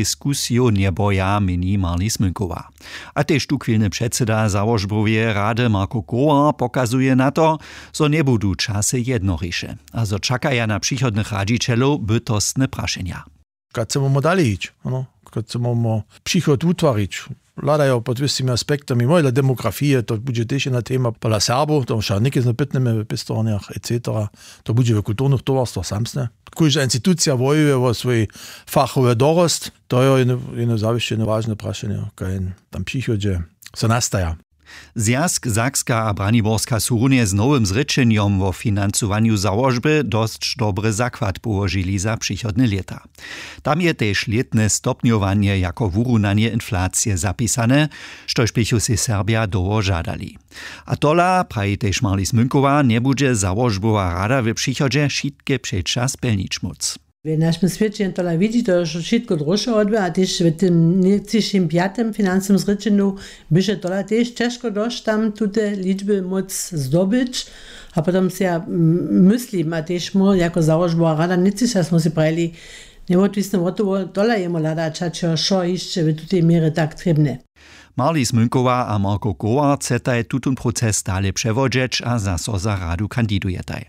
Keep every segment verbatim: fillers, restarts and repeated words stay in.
Diskusiju njeboja, měni Marli Smynkowa. A tež tuchwilny předsyda załožboweje rady Marko Kowar pokazuje na to, zo njebudu časy jednoriše a zo čakaja na přichodnych radźićelow bytostne prašenja. Kaž chcemy dalej hić, ano, kaž chcemy přichod wutwarić, hladajo pod wěscymi aspektami, móhle demografije, to budźe tež jedna tema pola Serbow, to wšak něke zno pytnemy w pěstowarnjach et cetera. To budźe w kulturnych towarstwach samsne. Kóžda institucija wojuje wo swój fachowy dorost. To je jedno zawěsće jedno wažne prašenje, kaj tam přichodźe so nastaja. Zwjazk Sakska a Braniborska su runje z nowym zrěčenjom wo financowanju załožby dosć dobry zakład połožili za přichodne lěta. Tam je tež lětne stopnjowanje jako wurunanje inflacije zapisane, štož běchu sej Serbja dołho žadali. A tola, praji tež Marli Smynkowa, njebudźe załožbowa rada w přichodźe wšitke přeća spjelnić móc. W našim swěće tola widźi to, zo wšitko dróše odbywa, a tež w tym njecyšim pjatym financnym zrěčenju běše tola tež ćežko dosć tam tute ličby móc zdobyć. A potom se ja myslim, a tež mór jako załožbowa rada njecyša smo sej prajili, njewotwisne wotowo tola jemu hladać hačo wšo hišće w tutej měrje tak trěbne. Marli Smynkowa a Marko Kowar chcetaj tutón proces dale přewodźeć a zaso za radu kandidujetaj.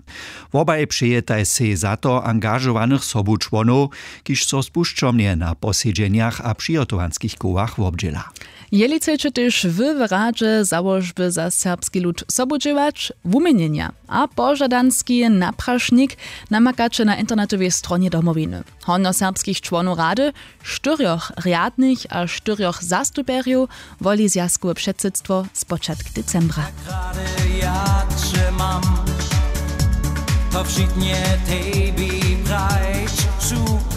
Wobaj přejetaj sej za to angažowanych sobučłonow, kiž so spušćomnje na posedźenjach a přihotowanskich kołach wobdźěla. Jeli chceće tež wy w radźe załožby za serbski lud sobudźěłać, wuměnjenja a požadanski naprašnik namakaće na internetowej stronje Domowiny. Hornjoserbskich čłonow rady, štyrjoch rjadnych a štyrjoch zastupjerjow woli zwjazkowe předsydstwo spočatk decembra. Rady ja će mam, to wšitnje tebi prajć ću.